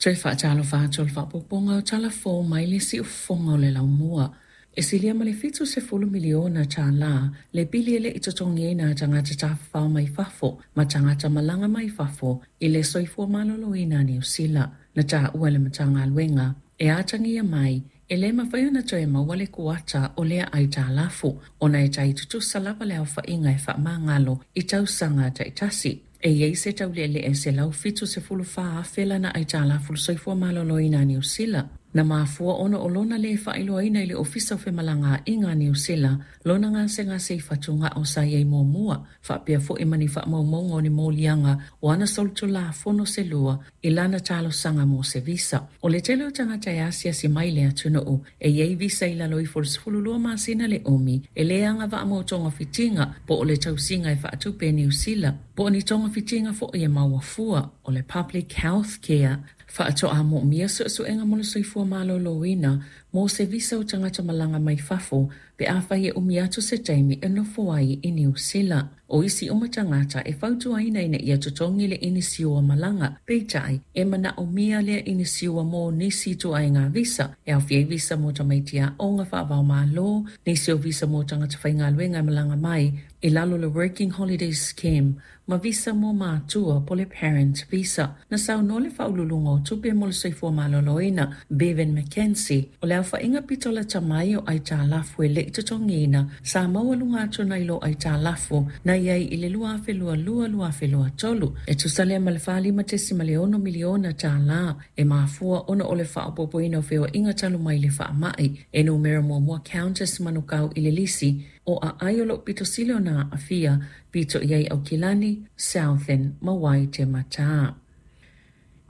Toe faatalofa atu o le faaopoopoga o tala fou mai le siufofoga o le laumua. E silia ma le $70 miliona tālā le pili e le i totogiina a tagata tafafao mai fafo ma tagata malaga mai fafo i le soifua maloloina a Niu Sila. Na taua e le Matagaluega e atagia mai e le mafai ona toe maua le kuata o lea aitalafu ona e tai tutusa lava le aofaiga e faamagalo i tausaga taitasi. E i ai se tauleelee e 174,000 lana aitalafu i le soifua maloloina a Niu Sila. Na mafua ona o lona lē faailoaina i le Ofisa o Femalagaaiga a Niu Sila lona gasegase i fatugao sa i ai muamua, faapea foi ma ni faamaumauga o ni moliaga o ana solitulafono se lua i lana talosaga mo se visa. O le tele o tagata e asiasi mai i le atunuu e i ai visa i lalo ifo o le 12 masina le umi, e le agavaa mo togafitiga po o le tausiga e faatupe e Niu Sila, po o ni togafitiga foi e maua fua o le Public Health Care. Faatoa moomia suesuega mo le soifua maloloina mo se visa o tagata malaga mai fafo pe afai e umi atu se taimi e nofo ai i Niu Sila. O isi uma tagata e fautuaina ina ia totogi le inisiua malaga, peitai, e manaomia lea inisiua mo nisi ituaiga visa, e aofia ai visa mo tamaiti aoga faava-o-Malo, nisi o visa mo tagata faigaluega e malaga mai i lalo o le Working Holiday Scheme, ma visa mo matua po o le Parent Visa. Na saunoa le Faauluuluga o Tupe mo le Soifua Maloloina, Bevan McKenzie, o le aofaiga pito lata mai o aitalafu e le i totogiina sa maualuga atu nai lo aitalafu na i ai i le 2022/2023, e tusa lea ma le $45.6 miliona tālā, e mafua ona o le faaopoopoina o feoaiga talu mai le faamai. E numera muamua Qantas Manukau i le lisi o aai o lo o pito sili ona aafia, pito i ai Aukilani, Southern ma Waitematā.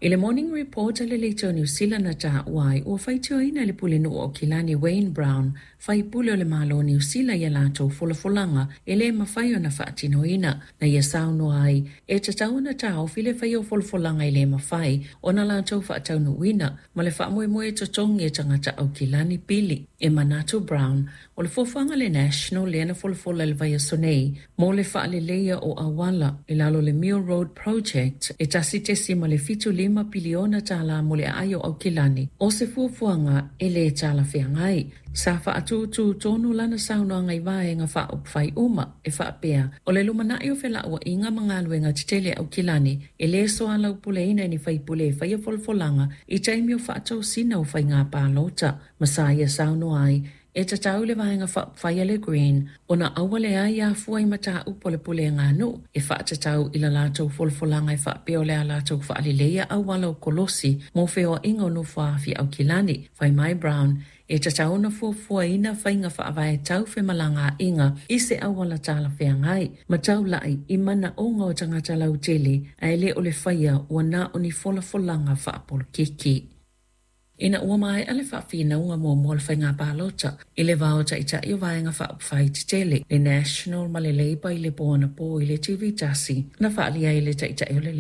I le Morning Report a le Leitio Niu Sila na taua ai, ua faitioina e le Pulenuu o Aukilani Wayne Brown, faipule o le Malo o Niu Sila i a latou folafolaga e le mafai ona faatinoina. Na ia saunoa ai, e tatau ona taofi le faia o folafolaga e le mafai ona latou faataunuuina ma le faamoemoe e totogi e tagata Aukilani pili. E manatu Brown, O le fuafuaga a le National lea na folafola i le vaiaso nei mo le faaleleia o auala i lalo o le Mill Road Project e $1.75 piliona tālā mo le aai o Aukilani, o se fuafuaga e lē talafeagai. Sa faatūtū tonu lana saunoaga i vaega faaupufai uma e faapea, o le lumanai o felauaiga ma galuega tetele a Aukilani e lē soalaupuleina e ni faipule e faia folafolaga i taimi o faatosina o faiga palota. Ma sa ia saunoa ai, E tatau i le Vaega Faaupufai a le Green ona aua le ai afua i mataupu a le pulega nuu e faatatau i la latou folafolaga e faapea o le a latou faaleleia auala o kolosi mo feoaiga o nofoa-afi Aukilani. Fai mai Brown, e tatau ona fuafuaina faiga faavae tau femalagaaiga i se auala talafeagai ma taulai i manaoga o tagata lautele ae le o le faia ua na o ni folafolaga faapolokiki. Ina ua maea le faafinauga muamua o le faiga palota i le va o Taitai o Vaega Faaupufai Tetele, le National ma le Labour i le po anapo i le TV tasi, na faaalia ai e le Taitai o le.